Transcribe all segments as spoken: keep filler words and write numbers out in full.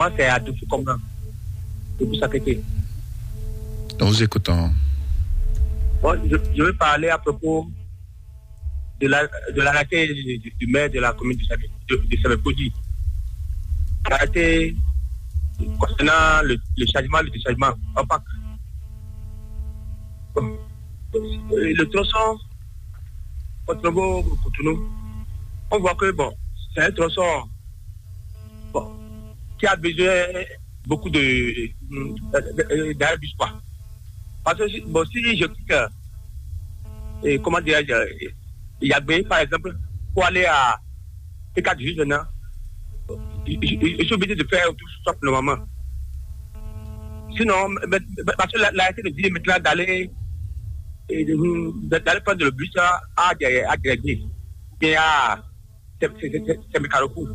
Moi, c'est à Doufou Commun, depuis Sakété. Nous vous écoutons. Bon, je, je vais parler à propos de la, de l'arrêté du, du maire de la commune de Sabé-, de, de Sabé-Kodi. L'arrêté concernant le, le chargement, le déchargement en pack. Bon. Et le tronçon, Porto-Novo, Cotonou, on voit que, bon, c'est un tronçon, bon, qui a besoin beaucoup de, de, de, de, d'arrêt bus, quoi. Parce que si, bon, si je quitte, euh, et comment dirais-je, euh, Yagbé, par exemple, pour aller à T quatre juste maintenant, je, je, je suis obligé de faire tout ça normalement. Sinon, mais, mais, parce que la, la, été de dire maintenant d'aller, et de, d'aller prendre le bus à, à, à Yagbé, bien à, c'est, c'est, c'est, c'est mes carrefours.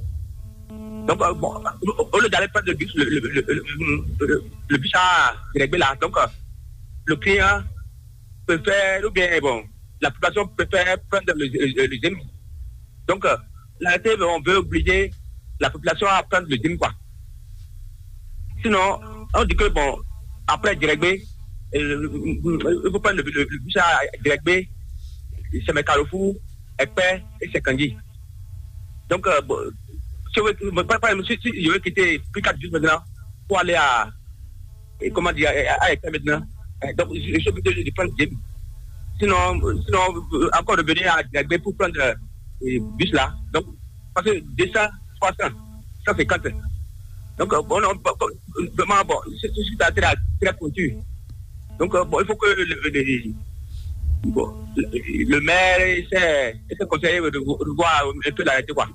Donc, euh, bon, au au lieu d'aller prendre le bus, le, le, le, le, le, le bus à Yagbé là, donc, euh, le client préfère, ou bien, bon, la population préfère prendre le, le, le Zémi. Donc, euh, là, c'est, on veut obliger la population à prendre le Zémi, quoi. Sinon, on dit que, bon, après Djérégbé, euh, il faut prendre le, le, le bus à Djérégbé, c'est mes carrefours, Ekpé et c'est Kangi. Donc, euh, bon, si, vous- bon, par, par exemple, si, si je veux quitter plus quatre juste maintenant pour aller à, et comment dire, à, à Ekpé maintenant, euh, donc je, je suis obligé de prendre Djémi. Sinon, sinon, euh, encore revenir à Djérégbé pour prendre euh, le bus là. Donc, parce que deux cents, trois cents, cent cinquante. Donc, euh, bon, non, bon, bon, vraiment, bon, c'est c'est très, très pointu. Donc, euh, bon, il faut que le, le, le- bon, le, le maire et ses, et ses conseillers revo- revoient un peu l'arrêté, quoi.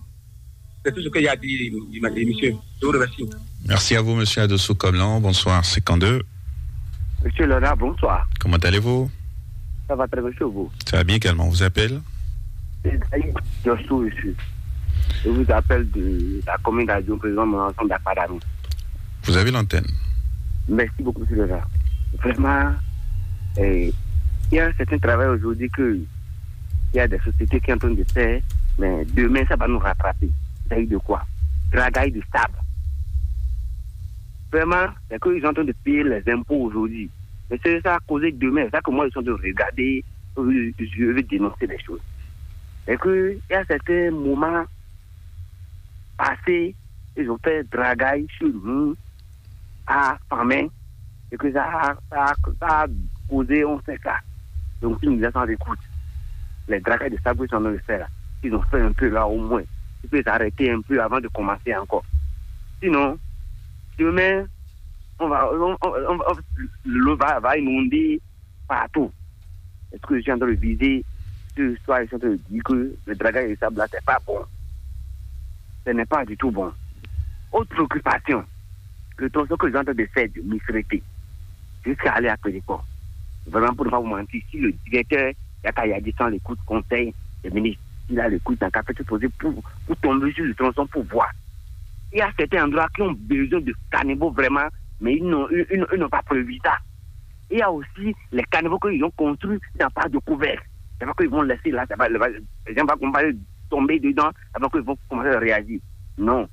C'est tout ce qu'il y a à dire, monsieur. Je vous remercie. Merci à vous, monsieur Adosso Koblan. Bonsoir, cinquante-deux. Monsieur Léonard, bonsoir. Comment allez-vous ? Ça va très bien chez vous. Ça va bien également. On vous appelle ? C'est Daïd Jossou, monsieur. Je vous appelle de la commune d'Adion, président de mon ensemble d'Akpadami. Vous avez l'antenne. Merci beaucoup, monsieur Léonard. Vraiment, eh, il y a un certain travail aujourd'hui que il y a des sociétés qui sont en train de faire, mais demain, ça va nous rattraper. Il s'agit de quoi ? Dragage de sable. Vraiment, c'est qu'ils sont en train de payer les impôts aujourd'hui. Mais c'est ça à causer demain. C'est ça que moi, je suis en train de regarder. Je je vais dénoncer les choses. C'est que il y a certains moments passés, ils ont fait dragage sur nous à Famé et que ça a, ça a- ça a causé, on sait ça. Donc, si nous les gens écoutent, les dragages de sable qu'ils sont en train de faire là, ils ont fait un peu là au moins. Ils peuvent s'arrêter un peu avant de commencer encore. Sinon, demain, on va, on, on- on- on- l'eau va, va inonder partout. Est-ce que je suis en train de viser ce soir, je suis en train de dire que le dragage de sable là, c'est pas bon. Ce n'est pas du tout bon. Autre préoccupation, le tronçon que je suis en train de faire de Misrété jusqu'à aller à Pédicor. Vraiment, pour ne pas vous mentir, si le directeur Yakayadi sans l'écoute conseil des ministres, il a l'écoute dans café tout posé pour, pour tomber sur le tronçon pour voir. Il y a certains endroits qui ont besoin de caniveaux vraiment, mais ils n'ont ils, ils- ils n'ont pas prévu ça. Il y a aussi les caniveaux qu'ils ont construits dans pas de couvert. C'est pas qu'ils vont laisser là, ça va, le- les gens vont tomber dedans, avant qu'ils vont commencer à réagir. Non.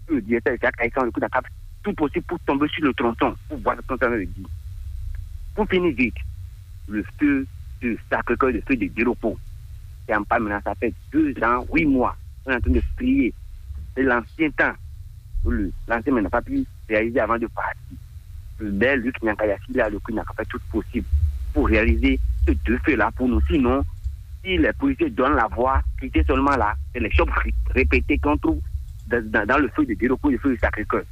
Le directeur de chaque échange, le coup d'attaque, tout possible pour tomber sur le tronçon, pour voir ce qu'on veut dire. Pour finir vite, le feu de Sacré-Cœur, le feu de Dérocco, c'est en pas maintenant, ça fait deux ans, huit mois, on est en train de prier. C'est l'ancien temps. Le- L'ancien maire n'a pas pu réaliser avant de partir. Mais lui qui n'a qu'à y assurer, le coup n'a qu'à faire tout possible pour réaliser ce deux feux-là pour nous. Sinon, si les policiers donnent la voix, quittez seulement là, c'est les chocs ré- répétés qu'on trouve dans, dans- dans le feu de Dérocco, le feu de Sacré-Cœur.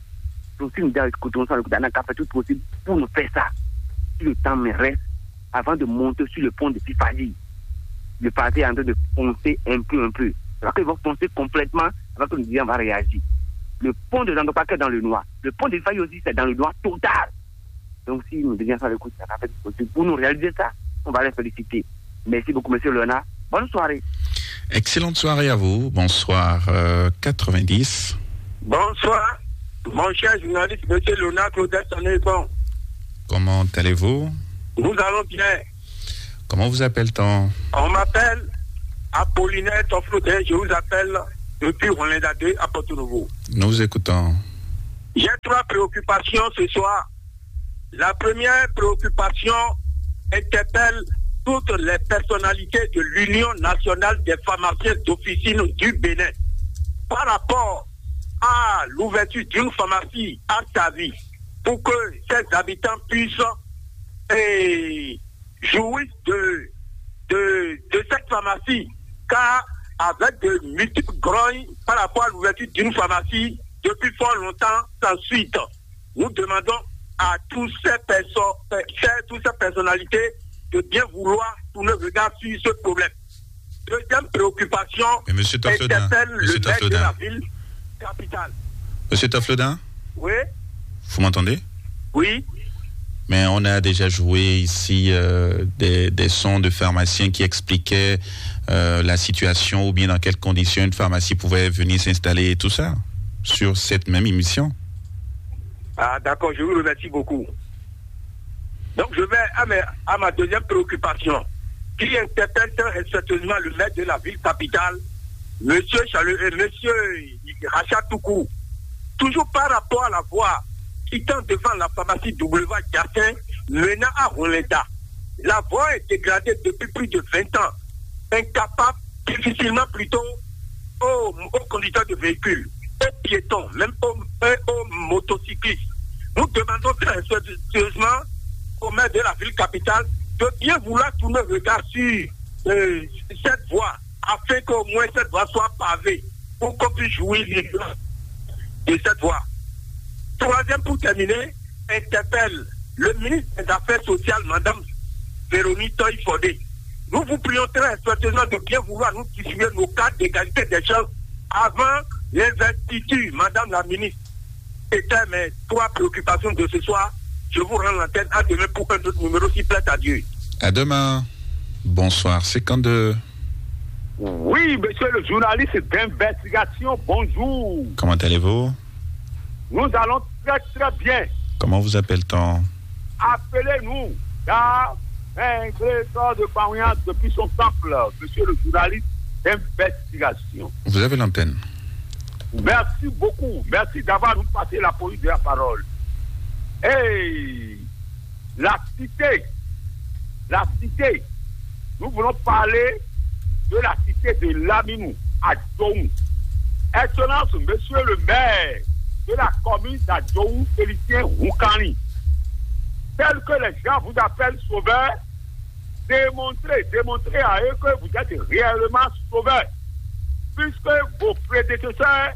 Donc, si nous disons, écoutons ça, le coup n'a qu'à faire tout possible pour nous faire ça. Si le temps me reste, avant de monter sur le pont de Pifadi, le passé est en train de foncer un peu, un peu. Alors qu'ils vont foncer complètement, avant que nous disions, on va réagir. Le pont de Zandokwa qui est dans le noir, le pont de Pifadi aussi, c'est dans le noir total. Donc, si nous devions faire le coup, ça va faire possible pour nous réaliser ça. On va les féliciter. Merci beaucoup, monsieur Léonard. Bonne soirée. Excellente soirée à vous. Bonsoir, euh, quatre-vingt-dix. Bonsoir, mon cher journaliste, monsieur Léonard Claudel Sané-Bon. Comment allez-vous ? Nous allons bien. Comment vous appelle-t-on ? On m'appelle Apollinaire Toflodin, je vous appelle depuis Rolanda deux à Porto Novo. Nous vous écoutons. J'ai trois préoccupations ce soir. La première préoccupation interpelle toutes les personnalités de l'Union nationale des pharmaciens d'officine du Bénin par rapport à l'ouverture d'une pharmacie à Savi pour que ses habitants puissent eh, jouir de, de, de cette pharmacie, car avec de multiples grognes par rapport à l'ouverture d'une pharmacie depuis fort longtemps sans suite. Nous demandons à tous ces personnes, toutes ces personnalités de bien vouloir tourner le regard sur ce problème. Deuxième préoccupation, mais monsieur Taflodin, interpelle monsieur le maire de Taflodin, la ville capitale. Monsieur Taflodin, oui, vous m'entendez? Oui. Mais on a déjà joué ici euh, des, des sons de pharmaciens qui expliquaient euh, la situation ou bien dans quelles conditions une pharmacie pouvait venir s'installer et tout ça sur cette même émission. Ah, d'accord, je vous remercie beaucoup. Donc, je vais à, mes- à ma deuxième préoccupation, qui interpelle très respectueusement le maire de la ville capitale, monsieur Charles, euh, monsieur Rachat Toukou. Toujours par rapport à la voie quittant devant la pharmacie W Jacin, menant à Rolenda. La voie est dégradée depuis plus de vingt ans, incapable, difficilement plutôt aux, aux conducteurs de véhicules, aux piétons, même aux, aux motocyclistes. Nous demandons très respectueusement au maire de la ville capitale de bien vouloir tourner le regard sur euh, cette voie afin qu'au moins cette voie soit pavée pour qu'on puisse jouir librement de cette voie. Troisième, pour terminer, interpelle le ministre des Affaires sociales, Madame Véronique Toy Fodé. Nous vous prions très respectueusement de bien vouloir nous distribuer nos cartes d'égalité des chances avant l'investiture, Madame la ministre. C'était mes trois préoccupations de ce soir. Je vous rends l'antenne. À demain pour un autre numéro, s'il plaît à Dieu. À demain. Bonsoir. C'est quand de... Oui, monsieur le journaliste d'investigation, bonjour. Comment allez-vous? Nous allons très, très bien. Comment vous appelle-t-on? Appelez-nous Dar Mengletor de Pawia depuis son temple, monsieur le journaliste d'investigation. Vous avez l'antenne. Merci beaucoup. Merci d'avoir nous passé la police de la parole. Hey, la cité, la cité, nous voulons parler de la cité de Laminou à Djohou. Excellence, monsieur le maire de la commune d'Adjohou, Félicien Houkani, tel que les gens vous appellent sauveur, démontrez, démontrez à eux que vous êtes réellement sauveur, puisque vos prédécesseurs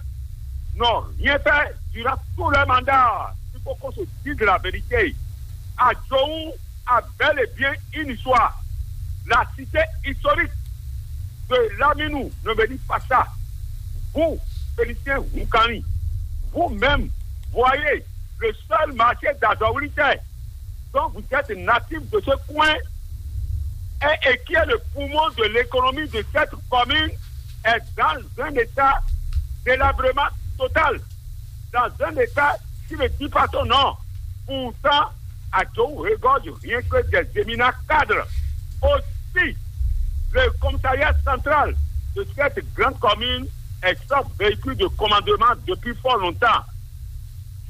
n'ont rien fait durant tout leur mandat. Il faut qu'on se dise la vérité. Adjohou a bel et bien une histoire. La cité historique de Laminou ne me dit pas ça. Vous, Félicien Houkani, vous-même, voyez le seul marché d'Azawilitaire dont vous êtes natif de ce coin et, et qui est le poumon de l'économie de cette commune, est dans un état délabrement total, dans un état qui ne dit pas son nom. Pourtant, Adjohou regorge rien que des éminents cadres. Aussi, le commissariat central de cette grande commune est sans véhicule de commandement depuis fort longtemps.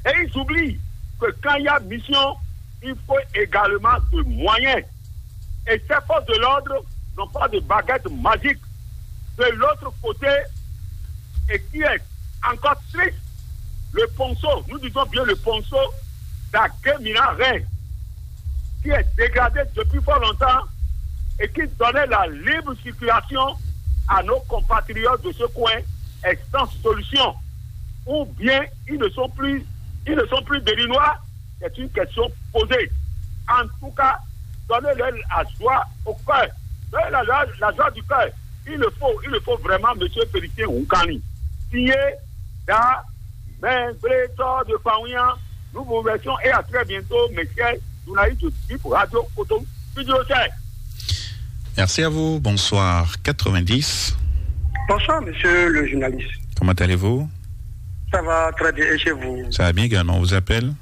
Et ils oublient que quand il y a mission, il faut également de moyens. Et ces forces de l'ordre n'ont pas de baguette magique. De l'autre côté, et qui est encore triste, le ponceau, nous disons bien le ponceau d'Agué Milan Rennes, qui est dégradé depuis fort longtemps et qui donnait la libre circulation à nos compatriotes de ce coin, est sans solution. Ou bien ils ne sont plus, ils ne sont plus béninois, c'est une question posée. En tout cas, donnez-leur la joie au cœur. Donnez la, la, la joie du cœur. Il le faut, il le faut vraiment, monsieur Félicien Houkani. Signé Dar Mengletor de Pawia. Nous vous remercions et à très bientôt, mes chers journalistes de Bip Radio Cotonou, Studio cinq. Merci à vous. Bonsoir. quatre-vingt-dix. Bonsoir, monsieur le journaliste. Comment allez-vous? Ça va très bien. Et chez vous? Ça va bien également. On vous appelle?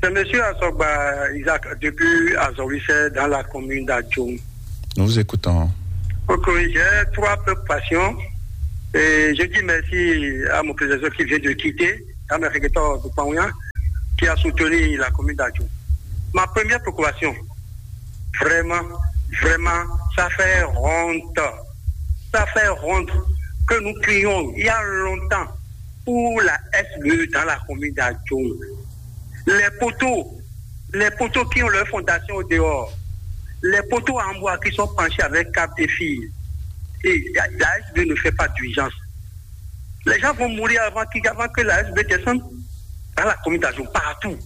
C'est monsieur Asogba Isaac depuis Azorichet dans la commune d'Adjong. Nous vous écoutons. Ok, j'ai trois préoccupations. Et je dis merci à mon président qui vient de quitter, l'Amérique qui a soutenu la commune d'Adjou. Ma première préoccupation, vraiment, vraiment, ça fait honte. Ça fait honte que nous crions il y a longtemps pour la S B E dans la commune d'Adjou. Les poteaux, les poteaux qui ont leur fondation au dehors, les poteaux en bois qui sont penchés avec câble et fil. Et la S B E ne fait pas d'urgence. Les gens vont mourir avant, avant que la S B E descende dans la commune d'Adjou, partout.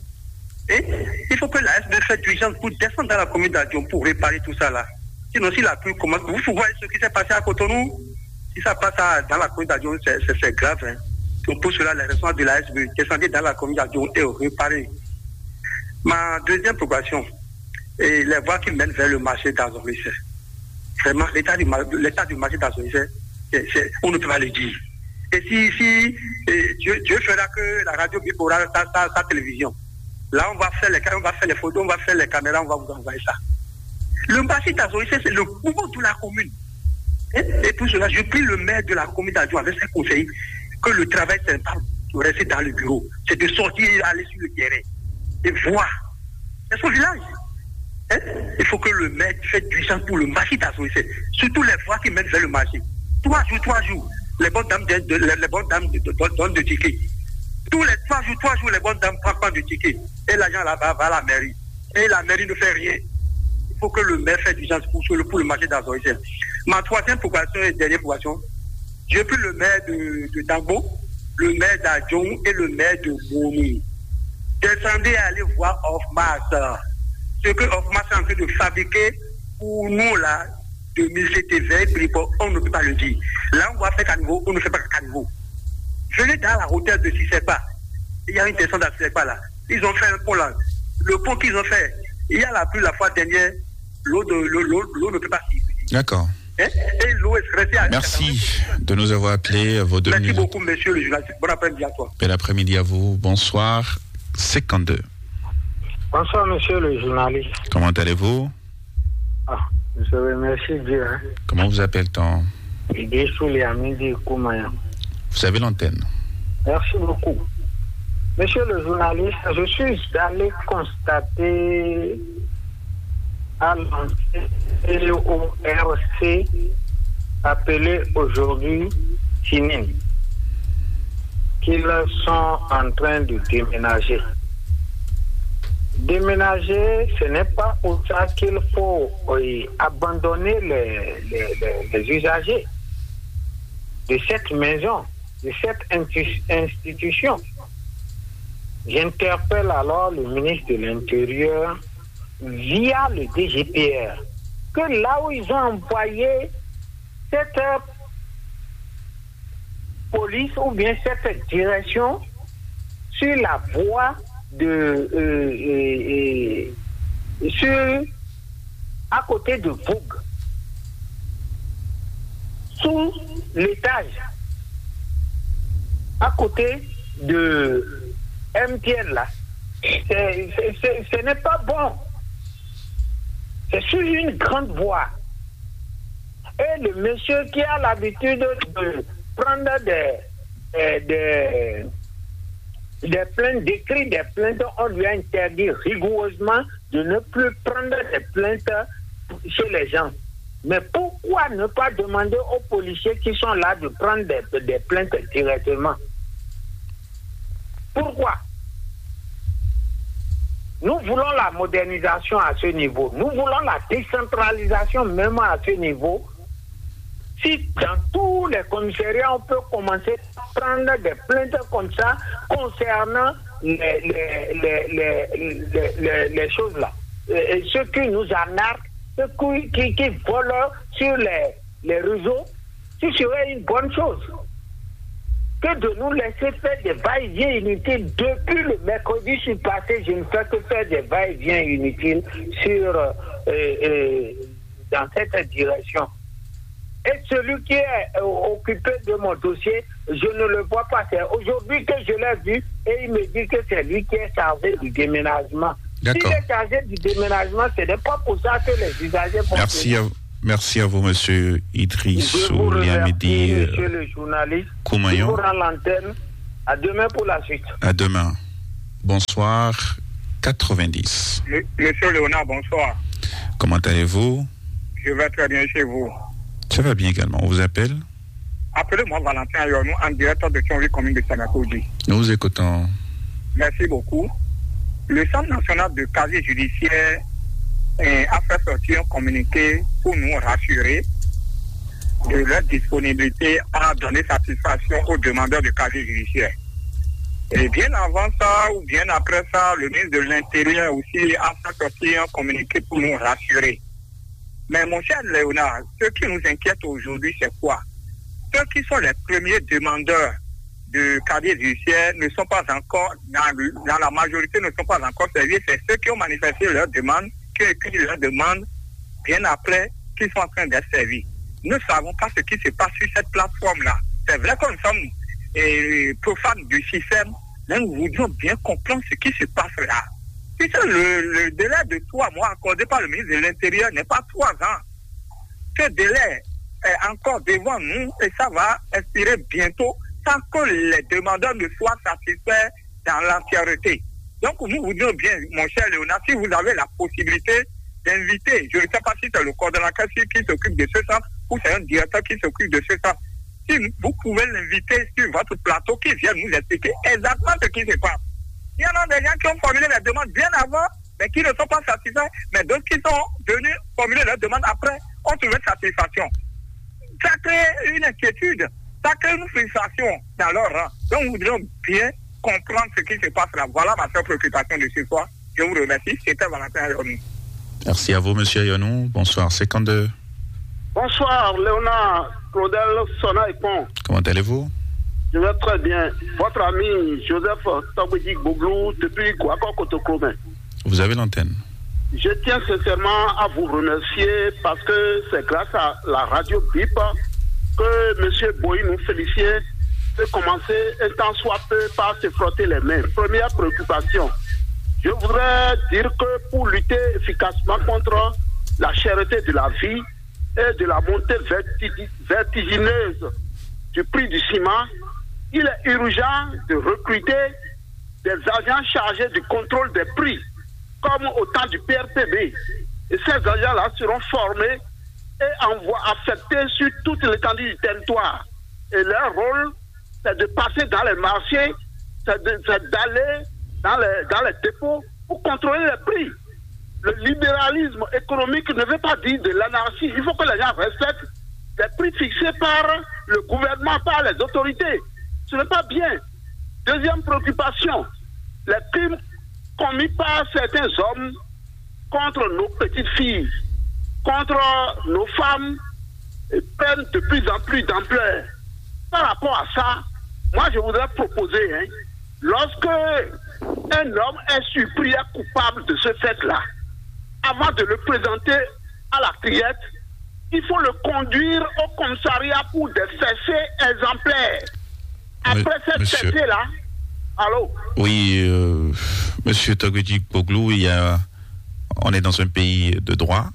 Et il faut que la S B E fasse d'urgence pour descendre dans la commune d'Adjou pour réparer tout ça là. Sinon, si la pluie commence, vous voyez ce qui s'est passé à Cotonou. Si ça passe à- dans la commune d'Adjou, c'est- c'est c'est grave, hein. Donc pour cela, les responsables de la S B E, descendez dans la commune d'Adjou et réparez. Ma deuxième préoccupation, et les voies qui mènent vers le marché d'Azoricé. Vraiment, l'état du, mar- l'état du marché d'Azoricé, c'est- c'est- on ne peut pas le dire. Et si, si et Dieu, Dieu fera que la radio Bip aura sa, sa- sa télévision, là, on va faire les, on va faire les photos, on va faire les caméras, on va vous envoyer ça. Le marché d'Azoricé, c'est le poumon de la commune. Hein? Et pour cela, je prie le maire de la commune d'Adjou avec ses conseillers que le travail, c'est pas de rester dans le bureau, c'est de sortir et aller sur le terrain et voir. C'est son village. Hein? Il faut que le maire fasse d'urgence pour le marché d'Azoricé. Surtout les voies qui mènent vers le marché. Trois jours, trois jours, les bonnes dames de, de- les, les bonnes dames de, de- de- donnent de tickets. Tous les trois jours, trois jours, les bonnes dames prennent pas de tickets. Et l'argent là-bas va à la mairie. Et la mairie ne fait rien. Il faut que le maire fasse d'urgence pour, sur le, pour le marché d'Azoricé. Ma troisième préoccupation et dernière préoccupation, je prie le maire de, de Dagbo, le maire d'Adjon et le maire de Momi. Descendez et allez voir Off-Mars. Ce que Off-Mars est en train de fabriquer pour nous là, deux mille sept et vingt, on ne peut pas le dire. Là, on va faire caniveau, on ne fait pas caniveau. Venez dans la hauteur de Sissekpa. Il y a une descente à Sissekpa là. Ils ont fait un pont là. Le pont qu'ils ont fait, il y a la pluie la fois dernière, l'eau de- l'eau- l'eau- l'eau ne peut pas circuler. D'accord. Hein? Et l'eau est restée à Merci de nous avoir appelés. Vos deux Merci minutes. Beaucoup, monsieur le journaliste. Bon après-midi à toi. Bel après-midi à vous. Bonsoir. Cinquante-deux. Bonsoir, monsieur le journaliste. Comment allez-vous? Ah, je remercie Dieu. Hein. Comment vous appelle-t-on? Idé Souliamidi Koumaya. Vous avez l'antenne. Merci beaucoup. Monsieur le journaliste, je suis allé constater à l'antenne L O R C, appelé aujourd'hui Tinin, qu'ils sont en train de déménager. Déménager, ce n'est pas pour ça qu'il faut euh, abandonner les, les- les- les usagers de cette maison, de cette inti- institution. J'interpelle alors le ministre de l'Intérieur via le D G P R, que là où ils ont envoyé cette police ou bien cette direction sur la voie de euh, euh, euh, sur à côté de Vogue, sous l'étage, à côté de M T L là. C'est- c'est- c'est- ce n'est pas bon. C'est sur une grande voie. Et le monsieur qui a l'habitude de prendre des, euh, des, des plaintes, d'écrire des plaintes, on lui a interdit rigoureusement de ne plus prendre des plaintes chez les gens. Mais pourquoi ne pas demander aux policiers qui sont là de prendre des, des plaintes directement? Pourquoi? Nous voulons la modernisation à ce niveau. Nous voulons la décentralisation même à ce niveau. Si dans tous les commissariats, on peut commencer à prendre des plaintes comme ça concernant les, les, les, les, les- les- les choses là. Et, et ceux qui nous arnaquent, ceux qui, qui, qui volent sur les, les réseaux, ce serait une bonne chose que de nous laisser faire des va-et-vient inutiles. Depuis le mercredi, je suis passé, je ne fais que faire des va-et-vient inutiles sur, euh, euh, dans cette direction. Et celui qui est euh, occupé de mon dossier, je ne le vois pas. C'est aujourd'hui que je l'ai vu et il me dit que c'est lui qui est chargé du déménagement. S'il D'accord. Est chargé du déménagement, ce n'est pas pour ça que les usagers vont Merci à, merci à vous, monsieur Idriss Je vous remercie, Ouliamidi monsieur le journaliste. Koumayon. Je vous rends l'antenne. À demain pour la suite. À demain. Bonsoir, quatre-vingt-dix. Le- Monsieur Léonard, bonsoir. Comment allez-vous ? Je vais très bien chez vous. Ça va bien également. On vous appelle ? Appelez-moi Valentin Ayonou en direct de Thionville, commune de Sanakoji. Nous vous écoutons. Merci beaucoup. Le Centre national de casier judiciaire, euh, a fait sortir un communiqué pour nous rassurer de leur disponibilité à donner satisfaction aux demandeurs de casier judiciaire. Et bien avant ça, ou bien après ça, le ministre de l'Intérieur aussi a fait sortir un communiqué pour nous rassurer. Mais mon cher Léonard, ce qui nous inquiète aujourd'hui, c'est quoi ? Ceux qui sont les premiers demandeurs de casier judiciaire ne sont pas encore, dans, dans la majorité, ne sont pas encore servis. C'est ceux qui ont manifesté leur demande, qui ont écrit leur demande bien après, qui sont en train d'être servis. Nous ne savons pas ce qui se passe sur cette plateforme-là. C'est vrai que nous sommes, euh, profanes du système, mais nous voudrions bien comprendre ce qui se passe là. Puisque le, le délai de trois mois accordé par le ministre de l'Intérieur n'est pas trois ans. Ce délai est encore devant nous et ça va expirer bientôt sans que les demandeurs ne soient satisfaits dans l'entièreté. Donc, nous vous disons bien, mon cher Léonard, si vous avez la possibilité d'inviter, je ne sais pas si c'est le coordonnateur qui s'occupe de ce centre ou c'est un directeur qui s'occupe de ce centre, si vous pouvez l'inviter sur votre plateau, qu'il vienne nous expliquer exactement ce qui se passe. Il y en a des gens qui ont formulé la demande bien avant, mais qui ne sont pas satisfaits, mais d'autres qui sont venus formuler leur demande après ont trouvé satisfaction. Ça crée une inquiétude, ça crée une frustration dans leur rang. Donc, nous devons bien comprendre ce qui se passe là. Voilà ma seule préoccupation de ce soir. Je vous remercie. C'était Valentin Ayonou. Merci à vous, monsieur Ayonou. Bonsoir, cinquante-deux. Bonsoir, Léonard, Claudel, Sona et Pont. Comment allez-vous ? Je vais très bien. Votre ami Joseph Tobedi Boglou depuis Guakor Kotoklomen. Vous avez l'antenne. Je tiens sincèrement à vous remercier parce que c'est grâce à la radio Bip que monsieur Boy nous félicitait de commencer un temps soit peu par se frotter les mains. Première préoccupation. Je voudrais dire que pour lutter efficacement contre la cherté de la vie et de la montée vertigi- vertigineuse du prix du ciment, il est urgent de recruter des agents chargés du contrôle des prix, comme au temps du P R P B. Et ces agents-là seront formés et envo- affectés sur toute l'étendue du territoire. Et leur rôle, c'est de passer dans les marchés, c'est de- c'est d'aller dans les, dans les dépôts pour contrôler les prix. Le libéralisme économique ne veut pas dire de l'anarchie. Il faut que les gens respectent les prix fixés par le gouvernement, par les autorités. Ce n'est pas bien. Deuxième préoccupation, les crimes commis par certains hommes contre nos petites filles, contre nos femmes, prennent de plus en plus d'ampleur. Par rapport à ça, moi je voudrais proposer, hein, lorsque un homme est surpris et coupable de ce fait-là, avant de le présenter à la criette, il faut le conduire au commissariat pour des fessées exemplaires. Après cette fessée-là, allô ? Oui, euh, monsieur Togwedji Boglou, il y a, on est dans un pays de droit,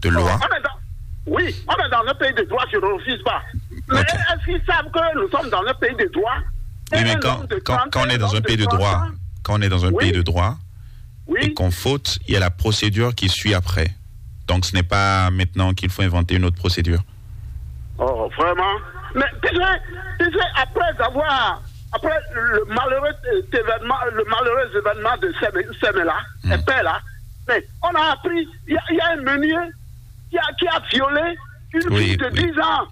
de loi. On est dans- oui, on est dans un pays de droit, je ne refuse pas. Mais est-ce qu'ils savent que nous sommes dans un pays de droit ? Oui, mais quand, quand, quand on est dans un pays de droit, quand on est dans un pays de droit, et qu'on faute, il y a la procédure qui suit après. Donc ce n'est pas maintenant qu'il faut inventer une autre procédure. Oh, vraiment ? Mais tu sais, tu sais, après avoir, après le malheureux, euh, événement, le malheureux événement de Seme- Semela, et père là, mais on a appris, il y, a- il y a un meunier qui a, qui a violé une fille de dix ans.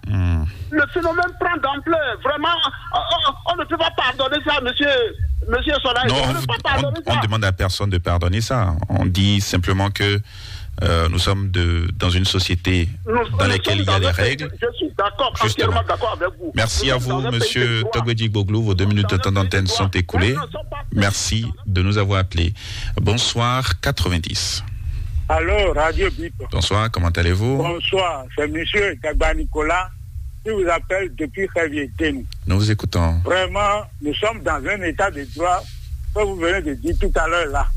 Le phénomène prend d'ampleur. Vraiment, on, on- on ne peut pas pardonner ça, monsieur, monsieur Soleil. Non, on ne peut pas pardonner ça. On ne demande à personne de pardonner ça. On dit simplement que euh, nous sommes de, dans une société dans laquelle il y a des règles. Je suis d'accord, entièrement d'accord avec vous. Merci à vous, monsieur Togwedji Boglou. Vos deux minutes de temps d'antenne sont écoulées. Merci de nous avoir appelés. Bonsoir, quatre-vingt-dix. Allô, Radio Bip. Bonsoir, comment allez-vous ? Bonsoir, c'est monsieur Dagba Nicolas qui vous appelle depuis Xavier Denu. Nous vous écoutons. Vraiment, nous sommes dans un état de droit, comme vous venez de dire tout à l'heure là.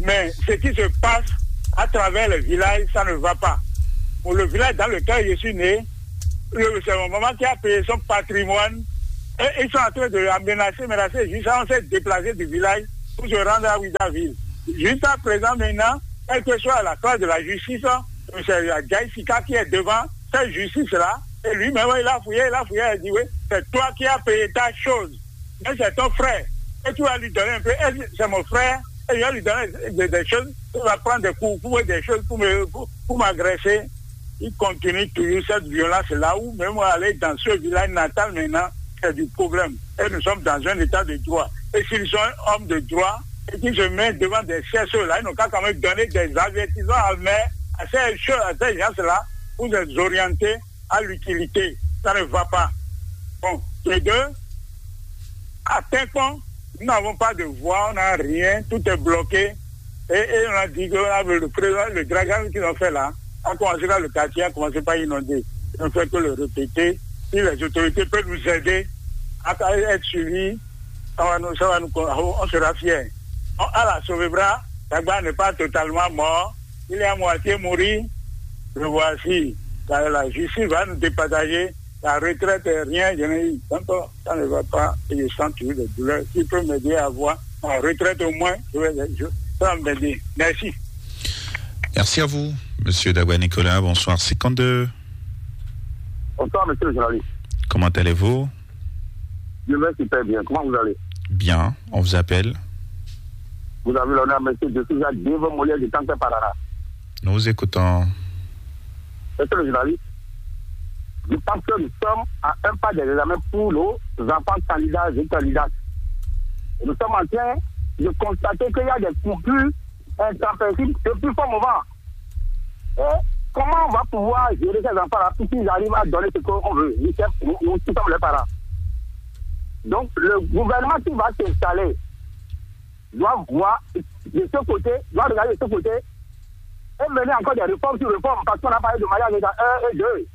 Mais ce qui se passe à travers les villages, ça ne va pas. Pour le village dans lequel je suis né, le- c'est mon maman qui a payé son patrimoine Et ils sont en train de aménager, menacer, jusqu'à on s'est déplacé du village pour se rendre à Ouizzaville. Jusqu'à présent, maintenant, quelle que soit la classe de la justice, hein, c'est Adjaï Sika qui est devant cette justice-là. Et lui-même, il a fouillé, il a fouillé, il a dit, oui, c'est toi qui as payé ta chose. Mais c'est ton frère. Et tu vas lui donner un peu. Et c'est mon frère. Et je vais lui donner des, des choses. Il va prendre des coups, pour des choses pour me, pour, pour m'agresser. Il continue toujours cette violence là où même aller dans ce village natal maintenant, c'est du problème. Et nous sommes dans un état de droit. Et s'ils sont hommes de droit et qu'ils se mettent devant des C S E là, ils n'ont qu'à quand même donner des avertissements à, mais à ces, à ces gens-là pour les orienter à l'utilité. Ça ne va pas. Bon, les deux, à Tainkon, nous n'avons pas de voix, on n'a rien, tout est bloqué. Et, et on a dit que on a le président, le dragage qu'ils ont fait là, a commencé par le quartier, a commencé par inonder. Ils ont fait que le répéter. Si les autorités peuvent nous aider à être suivis, ça va nous, ça va nous, on sera fiers. On a la sauvé bras, Dagba n'est pas totalement mort, il est à moitié mort. Le voici, la, la justice va nous départager. La retraite, rien, je n'ai eu. Donc, ça ne va pas et je sens toujours des douleurs. S'il peut m'aider à avoir ma retraite au moins, je vais, je, ça va m'aider. Merci. Merci à vous, monsieur Dagba Nicolas. Bonsoir, cinquante-deux. Bonsoir, monsieur le journaliste. Comment allez-vous ? Je vais super bien. Comment vous allez ? Bien, on vous appelle. Vous avez l'honneur, monsieur, je suis à Dieu Molière de Tanque Parana. Nous vous écoutons. Monsieur le journaliste, je pense que nous sommes à un pas des examens pour nos enfants candidats et candidates. Et nous sommes en train de constater qu'il y a des coupures intempestives depuis fort moment. Et comment on va pouvoir gérer ces enfants-là pour qu'ils arrivent à donner ce qu'on veut ? Nous, nous, nous tous sommes les parents. Donc, le gouvernement qui va s'installer doit voir de ce côté, doit regarder de ce côté et mener encore des réformes sur réformes parce qu'on a parlé de mariage à un et deux.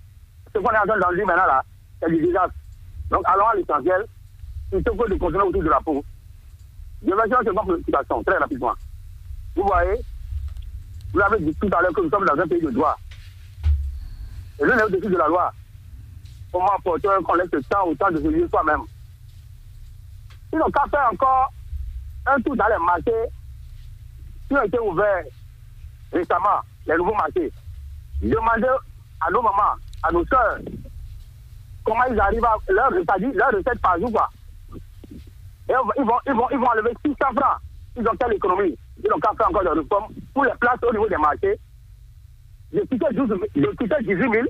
Ce qu'on est en train d'en dire maintenant là, c'est du désastre. Donc allons à l'essentiel, plutôt que de continuer autour de la peau. Je vais faire une préoccupation très rapidement. Vous voyez, vous l'avez dit tout à l'heure que nous sommes dans un pays de droit. Et l'un est au-dessus de la loi. Comment porter qu'on laisse le temps au temps de se juger soi-même ? Ils n'ont qu'à faire encore un tour dans les marchés qui ont été ouverts récemment, les nouveaux marchés. Demandez à nos mamans, à nos sœurs, comment ils arrivent à leur, c'est-à-dire leur recette par jour, quoi. Et ils vont, ils vont, ils vont enlever six cents francs. Ils ont quelle économie ? Ils n'ont qu'à faire encore des réformes pour les places au niveau des marchés. J'ai quitté, douze, j'ai quitté dix-huit mille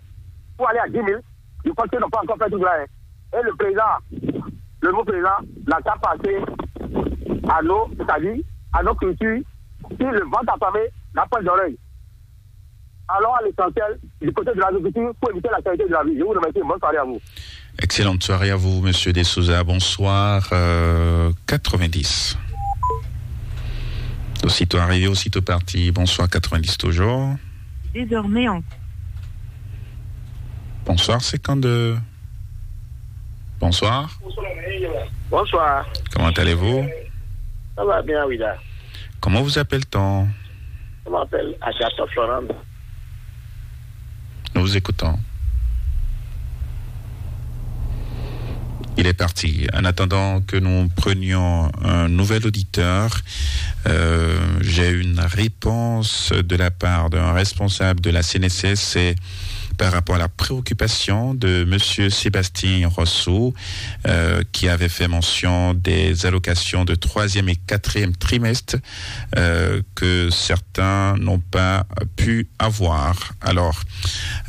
pour aller à dix mille. Je pense qu'ils n'ont pas encore fait tout cela, hein. Et le président, le nouveau président, n'a qu'à passer à nos, c'est-à-dire à nos cultures, si le ventre affamé n'a pas d'oreille. Allons à l'essentiel du côté de l'agriculture pour éviter la qualité de la vie. Je vous remercie. Bonne soirée à vous. Excellente soirée à vous, monsieur De Souza. Bonsoir. Euh, quatre-vingt-dix. Aussitôt arrivé, aussitôt parti. Bonsoir, quatre-vingt-dix toujours. Désormais en Bonsoir, cinquante-deux. Bonsoir. Bonsoir. Comment allez-vous ? Ça va bien, Wida. Comment vous appelle-t-on ? Je m'appelle Agathon Florent. Nous vous écoutons. Il est parti. En attendant que nous prenions un nouvel auditeur, euh, j'ai une réponse de la part d'un responsable de la C N S S. C'est par rapport à la préoccupation de monsieur Sébastien Rosso, euh, qui avait fait mention des allocations de troisième et quatrième trimestre, euh, que certains n'ont pas pu avoir. Alors,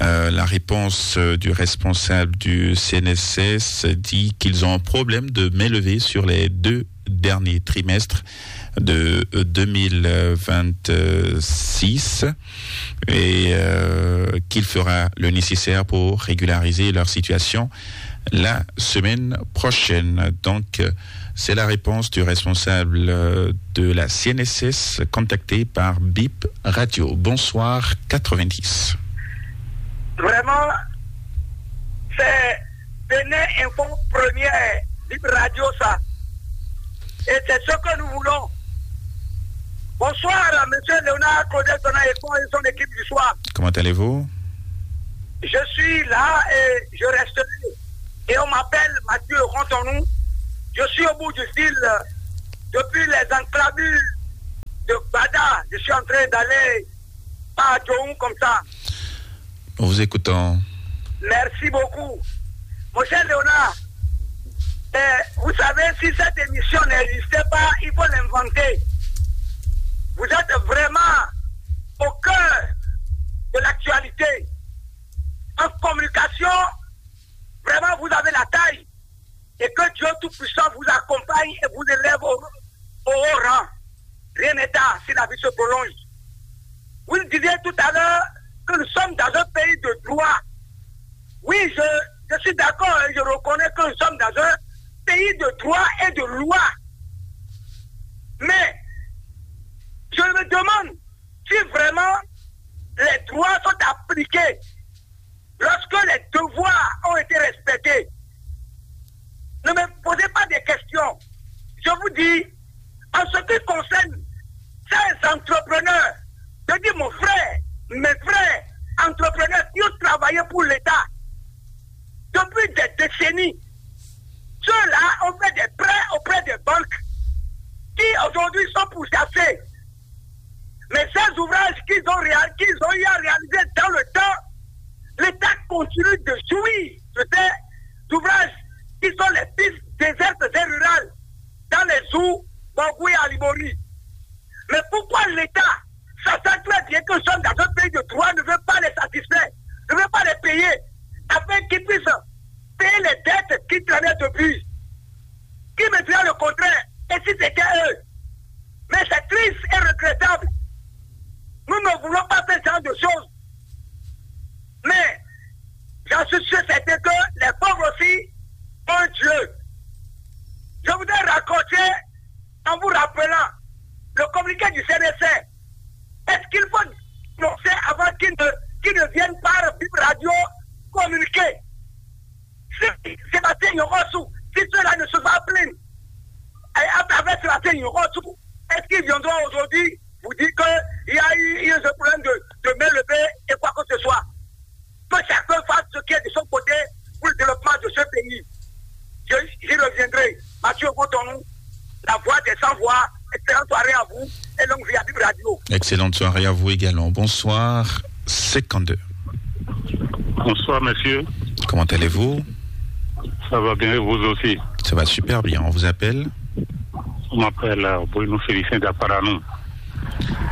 euh, la réponse, euh, du responsable du C N S S dit qu'ils ont un problème de main levée sur les deux derniers trimestres de, euh, deux mille vingt-six et, euh, qu'il fera le nécessaire pour régulariser leur situation la semaine prochaine. Donc, euh, c'est la réponse du responsable, euh, de la C N S S contacté par Bip Radio. Bonsoir, quatre-vingt-dix. Vraiment, c'est Bénin Info Première, Bip Radio, ça. Et c'est ce que nous voulons. Bonsoir à monsieur Léonard Claudel Sonaï et son équipe du soir. Comment allez-vous ? Je suis là et je resterai. Et on m'appelle Mathieu Rantonou. Je suis au bout du fil depuis les enclaves de Gbada. Je suis en train d'aller par Djoun comme ça. Nous vous écoutons. Merci beaucoup. Mon cher Léonard, eh, vous savez, si cette émission n'existait pas, il faut l'inventer. Vous êtes vraiment au cœur de l'actualité. En communication, vraiment, vous avez la taille. Et que Dieu Tout-Puissant vous accompagne et vous élève au, au haut rang. Rien n'est tard si la vie se prolonge. Vous disiez tout à l'heure que nous sommes dans un pays de droit. Oui, je, je suis d'accord et je reconnais que nous sommes dans un pays de droit et de loi. Mais je me demande si vraiment les droits sont appliqués, lorsque les devoirs ont été respectés. Ne me posez pas des questions. Je vous dis, en ce qui concerne ces entrepreneurs, je dis mon frère, mes frères entrepreneurs qui ont travaillé pour l'État depuis des décennies, ceux-là ont fait des prêts auprès des banques qui aujourd'hui sont pourchassés. Mais ces ouvrages qu'ils ont, réal- qu'ils ont eu à réaliser dans le temps, l'État continue de jouir de ces ouvrages qui sont les pistes désertes et rurales dans les Zour, Bangou et Alibori. Mais pourquoi l'État, sachant très bien que nous sommes dans un pays de droit, ne veut pas les satisfaire, ne veut pas les payer, afin qu'ils puissent payer les dettes qu'ils traînaient depuis? Qui me dira le contraire? Et si c'était eux? Mais c'est triste et regrettable. Nous ne voulons pas faire ce genre de choses. Mais j'en suis sûr certain que les pauvres aussi ont un Dieu. Je voudrais raccrocher en vous rappelant le communiqué du C N S R. Est-ce qu'il faut annoncer avant qu'ils ne, qu'ils ne viennent par Bip Radio communiquer? Si Sébastien Yorossou, si ceux-là ne sont pas pleins, et à travers Sébastien Yorossou, est-ce qu'ils viendront aujourd'hui vous dire qu'il y a eu, il y a eu ce problème de, de main levée et quoi que ce soit? Que chacun fasse ce qui est de son côté pour le développement de ce pays. Je, j'y reviendrai. Mathieu Rantonou, la voix des sans voix, excellente soirée à vous et longue vie à Bip Radio. Excellente soirée à vous également. Bonsoir, cinquante-deux. Bonsoir, monsieur. Comment allez-vous? Ça va bien, et vous aussi? Ça va super bien. On vous appelle? On m'appelle euh, Bruno Félicien d'Apparanou.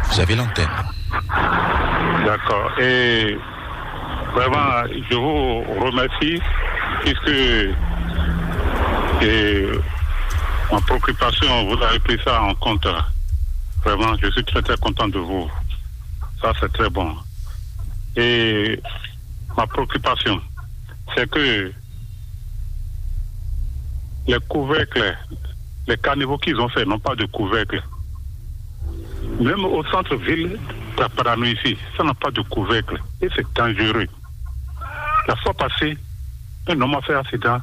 Vous avez l'antenne. D'accord. Et vraiment, je vous remercie puisque et ma préoccupation, vous avez pris ça en compte. Vraiment, je suis très, très content de vous. Ça, c'est très bon. Et ma préoccupation, c'est que les couvercles, les caniveaux qu'ils ont fait n'ont pas de couvercle. Même au centre-ville d'Apparanou ici, ça n'a pas de couvercle. Et c'est dangereux. La fois passée, un homme a fait accident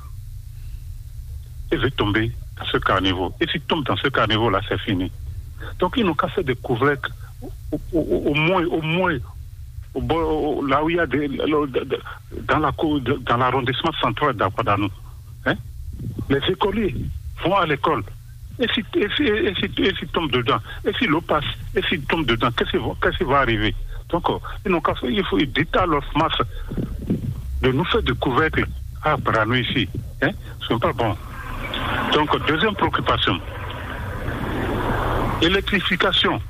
et veut tomber dans ce caniveau. Et s'il tombe dans ce caniveau-là, c'est fini. Donc, ils n'ont qu'à faire des couvercles au, au- au- au moins, au moins, au bord, au- là où il y a des, le- de- de- dans la cour, de- dans l'arrondissement central d'Apparanou. Hein? Les écoliers vont à l'école. Et si, et si, et si, et s'ils tombent dedans, et si l'eau passe, et s'ils tombent dedans, qu'est-ce qui va, qu'est-ce qui va arriver? Donc, euh, ils n'ont qu'à faire, il faut, ils disent à leur masse de nous faire du couvercle à Apparanou ici. Hein? Ce n'est pas bon. Donc, deuxième préoccupation, électrification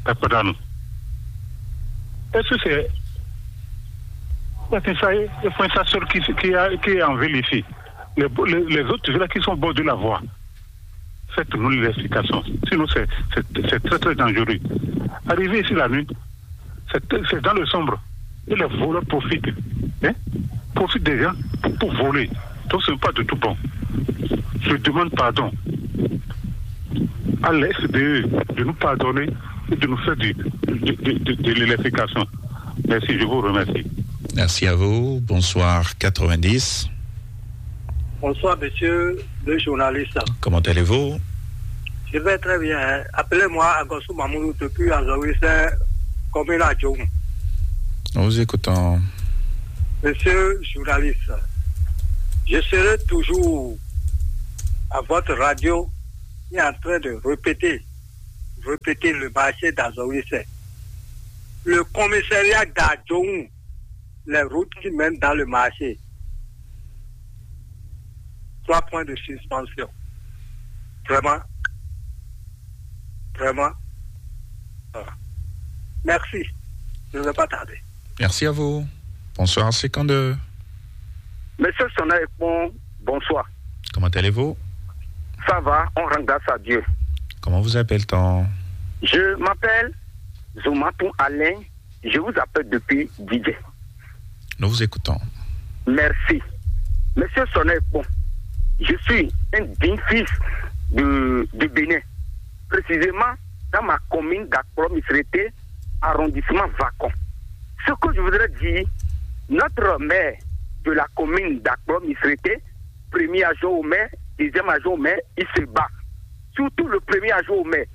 d'Apparanou. Est-ce que c'est, est-ce que ça y est, le point ça seul qui, qui, a- qui est en ville ici? Les, les- les autres villas qui sont au bord de la voie, faites-nous l'explication. Sinon, c'est c'est- c'est très, très dangereux. Arriver ici la nuit, c'est c'est dans le sombre. Et les voleurs profitent. Hein? Profitent des gens pour, pour voler. Donc, ce n'est pas du tout bon. Je demande pardon à la S B E de nous pardonner et de nous faire du- de, de- de- de l'électrification. Merci, je vous remercie. Merci à vous. Bonsoir, quatre-vingt-dix. Bonsoir, monsieur le journaliste. Comment allez-vous? Je vais très bien, hein. Appelez-moi Agosou Mamoudou depuis Azaouis, commune à Djoum. Nous vous écoutons. Monsieur le journaliste, Je serai toujours à votre radio et en train de répéter, répéter le marché d'Azawise. Le commissariat d'Adjoun, les routes qui mènent dans le marché. Trois points de suspension. Vraiment, vraiment. Voilà. Merci. Je ne vais pas tarder. Merci à vous. Bonsoir, c'est quand de... Monsieur Sonaïpon, bonsoir. Comment allez-vous? Ça va, on rend grâce à Dieu. Comment vous appelle-t-on? Je m'appelle Zomaton Alain. Je vous appelle depuis Didier. Nous vous écoutons. Merci. Monsieur Sonaïpon, je suis un digne fils de, de Bénin, précisément dans ma commune d'Akpro Misrété, arrondissement Vacon. Ce que je voudrais dire, notre maire de la commune d'Akpro Misrété, premier adjoint au maire, deuxième adjoint au maire, il se bat. Surtout le premier adjoint au maire.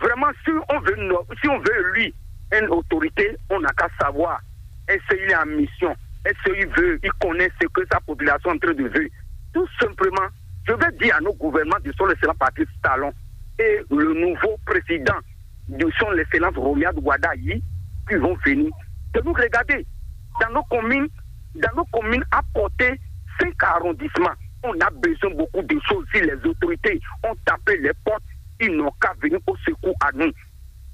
Vraiment, si on veut, si on veut lui, une autorité, on n'a qu'à savoir est-ce qu'il est en mission, est-ce qu'il veut, il connaît ce que sa population est en train de vivre. Tout simplement, je vais dire à nos gouvernements de son excellent Patrice Talon et le nouveau président de son excellence Romuald Wadagni qui vont venir, de nous regarder dans nos communes, dans nos communes à portée cinq arrondissements. On a besoin beaucoup de choses. Si les autorités ont tapé les portes, ils n'ont qu'à venir au secours à nous.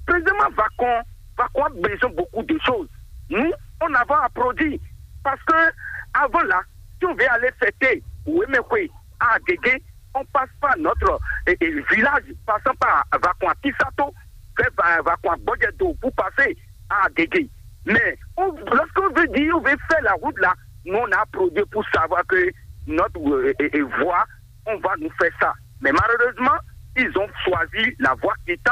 Président Vacon, Vacon a besoin beaucoup de choses. Nous, on a à produire. Parce que avant là, si on veut aller fêter Wemekwe à Guégué, on passe par notre eh, eh, village, passant par Vacon à Kisato, vers Vacon à Bodjedo pour passer à Guégué. Mais on, lorsqu'on veut dire, on veut faire la route là, nous on a produit pour savoir que notre euh, eh, eh, voie, on va nous faire ça. Mais malheureusement, ils ont choisi la voie quittant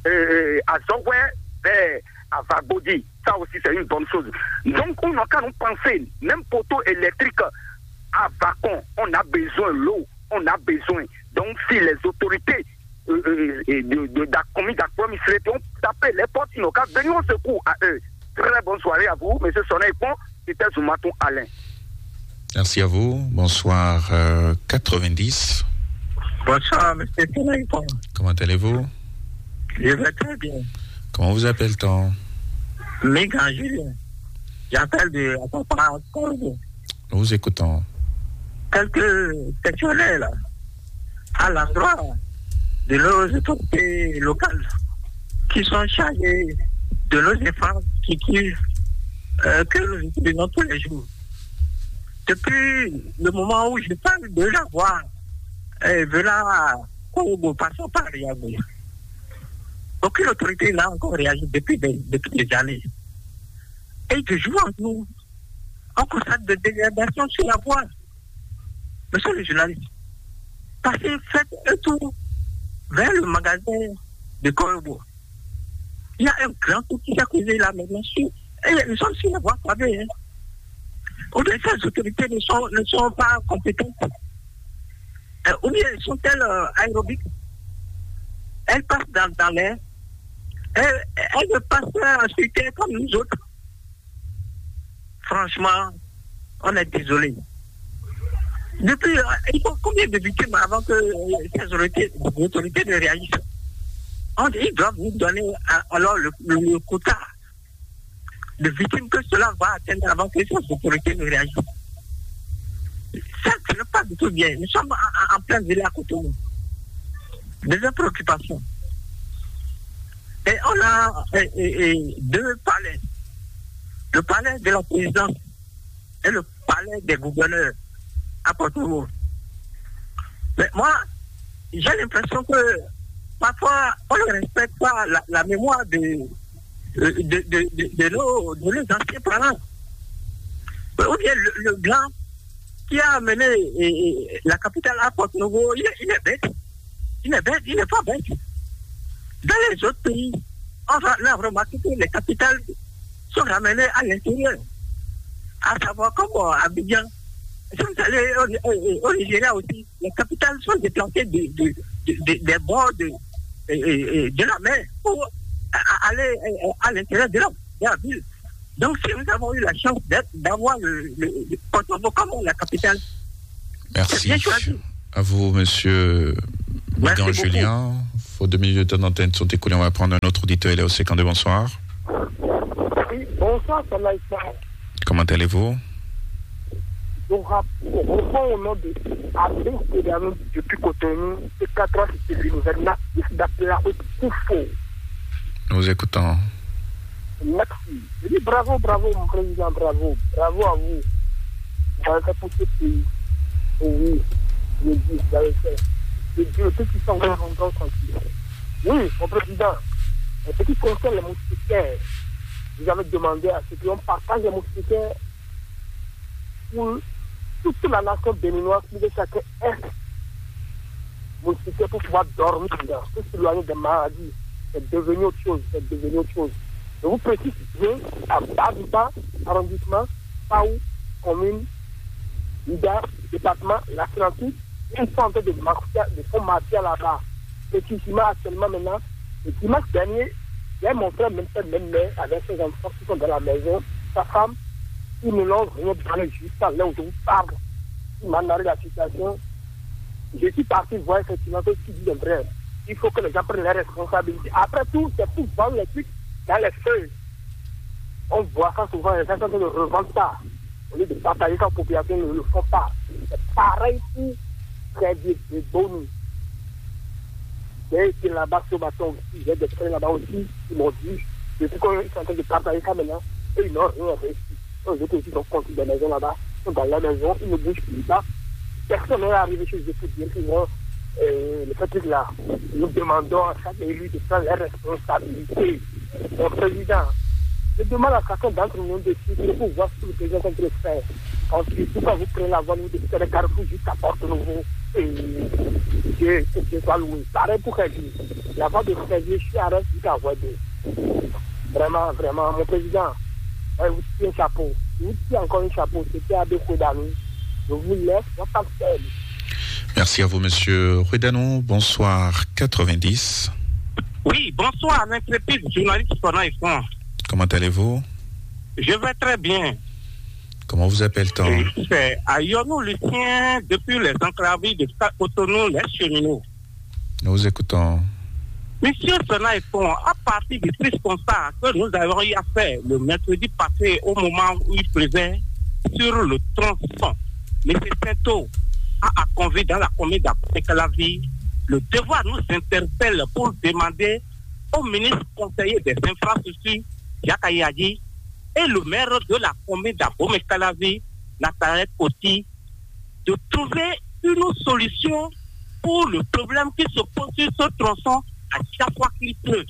euh, à Zogoué vers à Vagodi. Ça aussi, c'est une bonne chose. Donc, on n'a qu'à nous penser, même poteau électrique à Vacon, on a besoin de l'eau, on a besoin. Donc, si les autorités euh, euh, de, de, de la commune d'Akpro Misrété ont tapé les portes, ils n'ont qu'à venir au secours à eux. Très bonne soirée à vous, monsieur Sonaïpon, c'était Zoumaton Alain. Merci à vous. Bonsoir, euh, quatre-vingt-dix. Bonsoir, monsieur Sonaïpon. Comment allez-vous? Je vais très bien. Comment vous appelle-t-on? Mégan Julien. J'appelle de Atapara Corbeau. Nous vous écoutons. Quelques questionnaires là, à l'endroit de nos autorités locales qui sont chargées de nos infrastructures euh, que nous utilisons tous les jours. Depuis le moment où je parle de la voie euh, venant à Corbeau, passant par Riago, aucune autorité n'a encore réagi depuis des, depuis des années. Et de jour en jour, on constate des dégradations sur la voie. Monsieur le journaliste, passez, faites un tour vers le magasin de Corbeau. Il y a un grand trou qui s'est causé là maintenant. Sur, et nous sommes sur la voie pavée. Hein. Ou bien ces autorités ne sont, ne sont pas compétentes. Euh, ou bien sont-elles euh, aérobiques? Elles passent dans, dans l'air. Elles, elles ne passent pas sur terre comme nous autres. Franchement, on est désolé. Depuis, euh, il faut combien de victimes avant que euh, ces autorités, les autorités ne réagissent? On, ils doivent nous donner euh, alors le, le, le quota de victimes que cela va atteindre avant que ces autorités ne réagissent. Ça, ce n'est pas du tout bien. Nous sommes en, en, en plein village à côté de nous. Deuxième préoccupation. Et on a et, et, et deux palais. Le palais de la présidence et le palais des gouverneurs à Porto. Mais moi, j'ai l'impression que parfois, on ne respecte pas la, la mémoire de, de, de, de, de nos, de nos anciens parents. Ou bien le, le blanc qui a amené et, et, la capitale à Porto Novo, il est, il est bête. Il est bête, il n'est pas bête. Dans les autres pays, on a, on a remarqué que les capitales sont ramenées à l'intérieur. À savoir comme euh, Abidjan. Si vous allez au, au, au Nigeria aussi, les capitales sont déplacées de, de, de, de- des bords de, euh, euh, de la mer pour a- a- aller euh, à l'intérieur de la, de la ville. Donc si nous avons eu la chance d'être, d'avoir le, le, le Porto Novo comme la capitale, Merci. C'est bien choisi. À vous, monsieur Merci Migan beaucoup. Julien. Faut deux minutes de temps d'antenne sont écoulées. On va prendre un autre auditeur. Il est au cinquante-deux. Bonsoir. Oui, bonsoir, Sanaïfa. Comment allez-vous? Je rap-, je réponds au nom de Abdel Kodanou depuis Cotonou, et quatre ans, c'était l'univers natif d'Appel Koufou. Nous vous écoutons. Merci. Je dis bravo, bravo, mon président, bravo. Bravo à vous. Vous avez fait pour ce pays. Oh oui, je dis, vous avez fait. Je dis, le petit sang, on va rentrer tranquille. Oui, mon président, en ce qui concerne les moustiquaires, vous avez demandé à ce qu'on partage les moustiquaires pour toute la nation béninoise, pour que chacun ait moustiquaires pour pouvoir dormir dedans, pour s'éloigner des maladies. C'est devenu autre chose, c'est devenu autre chose. Je vous précise bien, à Babipa, arrondissement, Paou, commune, Ida, département, l'Atlantique, ils sont en train de marcher, de font marcher là-bas. Précisément, actuellement, maintenant, le dimanche dernier, il y a mon frère, même père, même mère, avec ses enfants qui sont dans la maison, sa femme, ils ne l'ont rien donné jusqu'à l'heure où je vous parle. Il m'a narré la situation. Je suis parti voir effectivement ce qu'il dit de vrai. Il faut que les gens prennent leurs responsabilités. Après tout, c'est pour vendre les trucs dans les feuilles. On voit ça souvent, les gens sont en train de revendre ça. Au lieu de partager ça aux populations, ils ne le font pas. C'est pareil pour Crédit de Boni. J'ai été là-bas ce matin aussi, j'ai des frères là-bas aussi, ils m'ont dit, depuis qu'on est en train de partager ça maintenant, et ils n'ont rien réussi. Les autres aussi sont construits des maisons là-bas, sont dans la maison, ils ne bougent plus pas. Personne n'est arrivé chez eux pour dire qu'ils vont, euh, le fait là. Nous demandons à chaque élu de prendre les responsabilités. Mon président, je demande à chacun d'entre nous de suivre pour voir ce que le président est en train de faire. Ensuite, pourquoi vous prenez la voie, vous décidez les carrefours jusqu'à Porte Nouveau et Dieu, que Dieu soit loué. Pareil pour Kadi. La voie de Kadi, je suis arrêté jusqu'à Wade. Vraiment, vraiment, mon président, ouais, vous tirez un chapeau. Vous tirez encore un chapeau. C'était Abé Kodanou. Je vous laisse, moi, pas seul. Merci à vous, monsieur Ruedano. Bonsoir, quatre-vingt-dix. Oui, bonsoir, l'intrépide journaliste Sona Efon. Comment allez-vous? Je vais très bien. Comment vous appelle-t-on? Et c'est Ayonou Lucien depuis les enclaves de Cotonou, les cheminots. Nous vous écoutons. Monsieur Sona Efon, à partir du triste constat que nous avons eu à faire le mercredi passé au moment où il pleuvait sur le tronçon, monsieur Sainto a, a convié dans la commune d'Après-Calavi, le devoir nous interpelle pour demander au ministre conseiller des infrastructures, Jacques Ayadi, et le maire de la commune d'Abomey-Calavi, Nathanaël Coty, de trouver une solution pour le problème qui se pose sur ce tronçon à chaque fois qu'il pleut.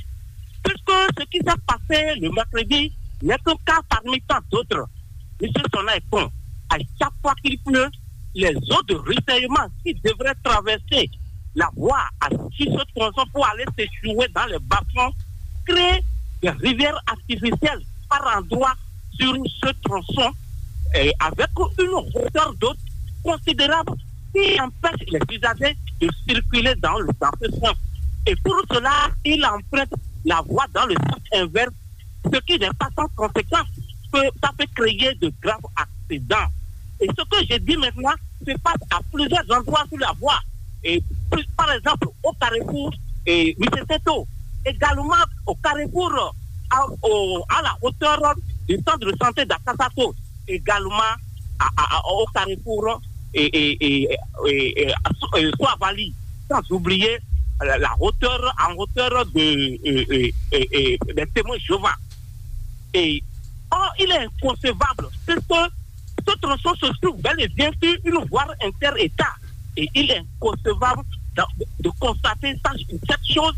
Puisque ce qui s'est passé le mercredi n'est qu'un cas parmi tant d'autres. Monsieur Sona Efon, à chaque fois qu'il pleut, les eaux de ruissellement qui devraient traverser la voie à, sur ce tronçon pour aller s'échouer dans les bas-fonds créent des rivières artificielles par endroits sur ce tronçon, euh, avec une hauteur d'eau considérable qui empêche les usagers de circuler dans le, dans ce sens. Et pour cela, il emprunte la voie dans le sens inverse, ce qui n'est pas sans conséquence, que ça peut créer de graves accidents. Et ce que je dis maintenant se passe à plusieurs endroits sur la voie. Et plus, par exemple, au carrefour, et monsieur Seto, également au carrefour, à, au, à la hauteur du centre de santé d'Akasato, également à, à, à, au carrefour et, et, et, et, et à So-, euh, Soavali, sans oublier la, la hauteur, en hauteur de, euh, euh, euh, euh, des témoins de Jéhovah. Et or, il est inconcevable, puisque ce tronçon se trouve bel et bien sur une voie inter-État. Et il est inconcevable de, de constater ça, cette chose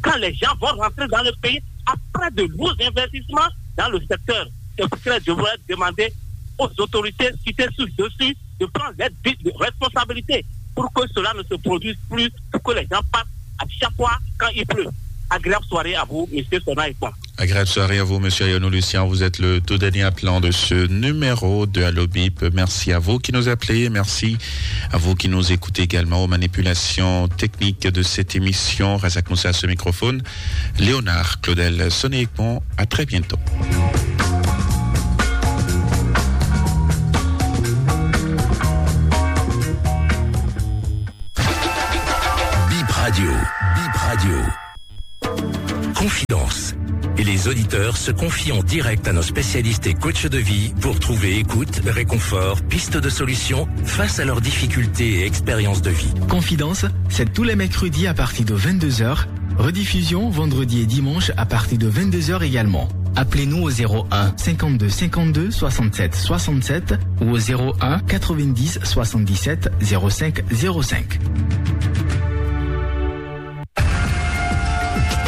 quand les gens vont rentrer dans le pays après de lourds investissements dans le secteur. C'est pourquoi je voudrais demander aux autorités situées sur le dessus de prendre leurs di-, de responsabilités pour que cela ne se produise plus, pour que les gens passent à chaque fois quand il pleut. Agréable soirée à vous, monsieur Sona Ekpan. Agréable soirée à vous, monsieur Ayonou Lucien. Vous êtes le tout dernier appelant de ce numéro de Allo Bip. Merci à vous qui nous appelez. Merci à vous qui nous écoutez également aux manipulations techniques de cette émission. Razak Moussa à ce microphone. Léonard Claudel Soné Ekpan. À très bientôt. Les auditeurs se confient en direct à nos spécialistes et coachs de vie pour trouver écoute, réconfort, piste de solution face à leurs difficultés et expériences de vie. Confidence, c'est tous les mercredis à partir de vingt-deux heures. Rediffusion vendredi et dimanche à partir de vingt-deux heures également. Appelez-nous au zéro un cinquante-deux cinquante-deux soixante-sept soixante-sept ou au zéro un quatre-vingt-dix soixante-dix-sept zéro cinq zéro cinq.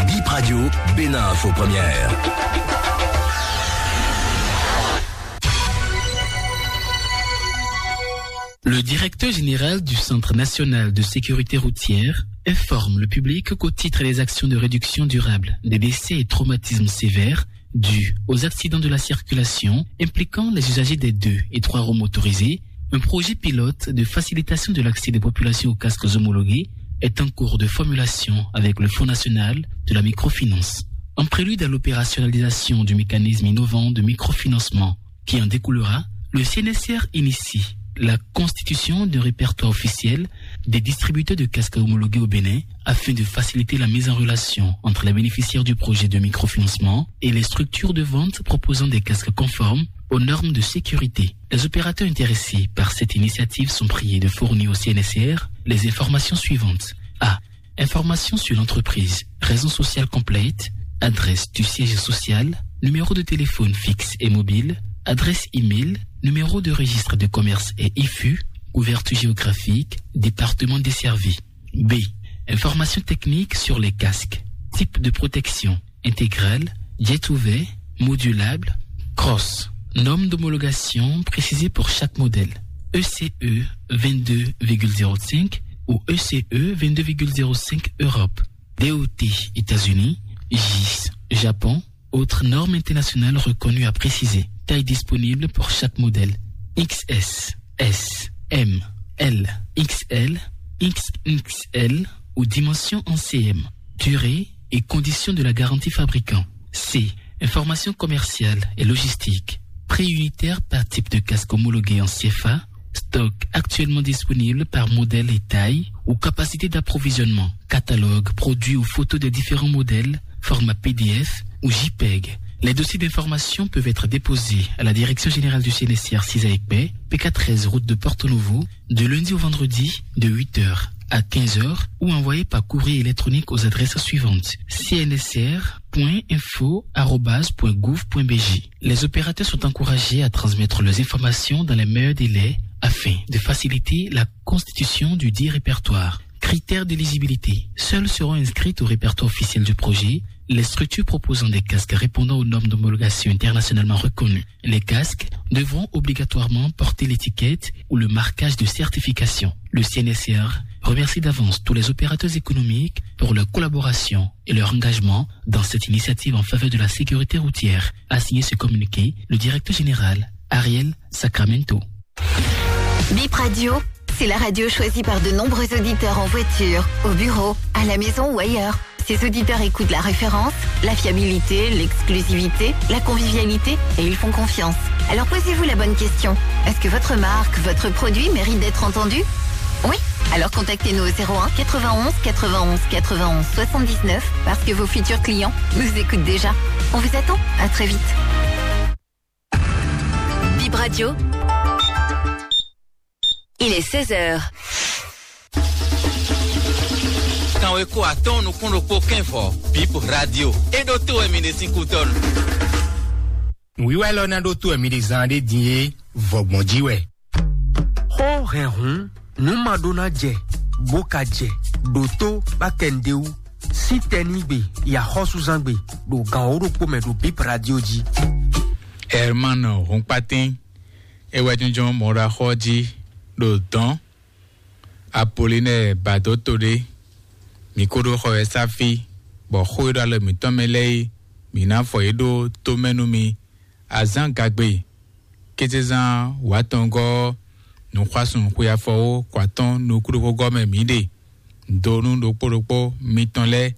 Bip Radio, Bénin Info Première. Le directeur général du Centre national de sécurité routière informe le public qu'au titre des actions de réduction durable des décès et traumatismes sévères dus aux accidents de la circulation impliquant les usagers des deux et trois roues motorisées, un projet pilote de facilitation de l'accès des populations aux casques homologués est en cours de formulation avec le Fonds national de la microfinance. En prélude à l'opérationnalisation du mécanisme innovant de microfinancement qui en découlera, le C N S R initie la constitution d'un répertoire officiel des distributeurs de casques homologués au Bénin afin de faciliter la mise en relation entre les bénéficiaires du projet de microfinancement et les structures de vente proposant des casques conformes aux normes de sécurité. Les opérateurs intéressés par cette initiative sont priés de fournir au C N S R les informations suivantes. A. Informations sur l'entreprise, raison sociale complète, adresse du siège social, numéro de téléphone fixe et mobile, adresse email, numéro de registre de commerce et I F U, couverture géographique, département desservi. B. Informations techniques sur les casques, type de protection, intégrale, jet ouvert, modulable, cross. Norme d'homologation précisée pour chaque modèle. E C E vingt-deux virgule zéro cinq ou E C E vingt-deux virgule zéro cinq Europe. D O T États-Unis, J I S Japon, autres normes internationales reconnues à préciser. Taille disponible pour chaque modèle. X S, S, M, L, X L, X X L ou dimension en C M. Durée et conditions de la garantie fabricant. C. Information commerciale et logistique. Prix unitaire par type de casque homologué en C F A. Stock actuellement disponible par modèle et taille ou capacité d'approvisionnement. Catalogue, produits ou photos des différents modèles, format P D F ou JPEG. Les dossiers d'information peuvent être déposés à la Direction générale du C N S R six à Ekpé, P K treize route de Porto Novo, de lundi au vendredi de huit heures à quinze heures ou envoyés par courrier électronique aux adresses suivantes: C N S R point info arobase point gouv point B J. Les opérateurs sont encouragés à transmettre leurs informations dans les meilleurs délais afin de faciliter la constitution du dit répertoire. Critères d'éligibilité. Seules seront inscrites au répertoire officiel du projet les structures proposant des casques répondant aux normes d'homologation internationalement reconnues. Les casques devront obligatoirement porter l'étiquette ou le marquage de certification. Le C N S R remercie d'avance tous les opérateurs économiques pour leur collaboration et leur engagement dans cette initiative en faveur de la sécurité routière, a signé ce communiqué le directeur général Ariel Sacramento. Bip Radio, c'est la radio choisie par de nombreux auditeurs en voiture, au bureau, à la maison ou ailleurs. Ces auditeurs écoutent la référence, la fiabilité, l'exclusivité, la convivialité, et ils font confiance. Alors posez-vous la bonne question. Est-ce que votre marque, votre produit mérite d'être entendu ? Oui ? Alors contactez-nous au zéro un quatre-vingt-onze quatre-vingt-onze quatre-vingt-onze soixante-dix-neuf, parce que vos futurs clients nous écoutent déjà. On vous attend. À très vite. Bip Radio. Il est seize heures. Kanweko atɔn nukún ɖokpó kɛnvɔ Bip Radio. E ɖo to wɛ mi ɖe sín kútɔnu. Nǔwiwa élɔ́ ná ɖó tó wɛ mi ɖe zán ɖé din é, vɔgbɔn jí wɛ. Xó hɛn hǔn, nǔ ma ɖó ná jɛ, bó ka jɛ, ɖo tó bá kɛ nǔɖé wú. Sín tɛnígbe, yi axɔ́súzángbe, ɖo gan wǒ ɖokpó mɛ ɖo Bip Radio jí. Herman Hunkpatín, é wɛ jínjɔ́n mɔ̌ɖaxɔ jí ɖo dɔ̌n. Apolinɛ́ɛ ba dó to ɖé, mǐ ko ɖó xɔ wɛ sá fí, bɔ xó e ɖo alɔ mǐtɔn mɛ lɛ́ɛ é, mǐ ná fɔ yě ɖó tó mɛ nú mi. Azǎn gagbe, kézezán wǎtɔngɔ́ ɔ́, nǔxwásún xwe afɔwó kɔ atɔ́ɔ́n nukúnɖóxógɔ́ mɛ mǐ ɖe. Donu ɖokpó ɖokpó mitɔn lɛ́ɛ,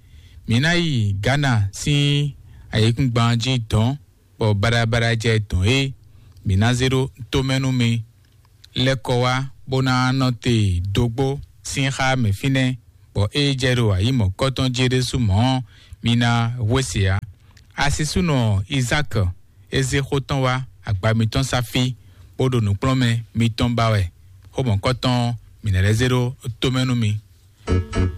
mǐ ná yi Gana sín ayǐkúngban jí dɔ̌n, bɔ baɖabaɖa jɛ dɔ̌n é, mǐ ná zé ɖó tó mɛ nú mi. Lɛ́ kɔ wá bó ná nɔ te dógbó sín xá mɛ fínɛ́, bɔ ée jɛ ɖo ayǐ mɔ̌kɔ́tɔn jí é ɖésú mɔ̌ ɔ́, mi ná hwe se ǎ. Asisúnɔ Izáak é zé xó tɔn wá agba mitɔn sá fí, bó ɖo nǔkplɔ́nmɛ mitɔn ba wɛ. Xó mɔ̌kɔtɔn mǐ ná lɛ́ zé ɖó tomɛ nú mi.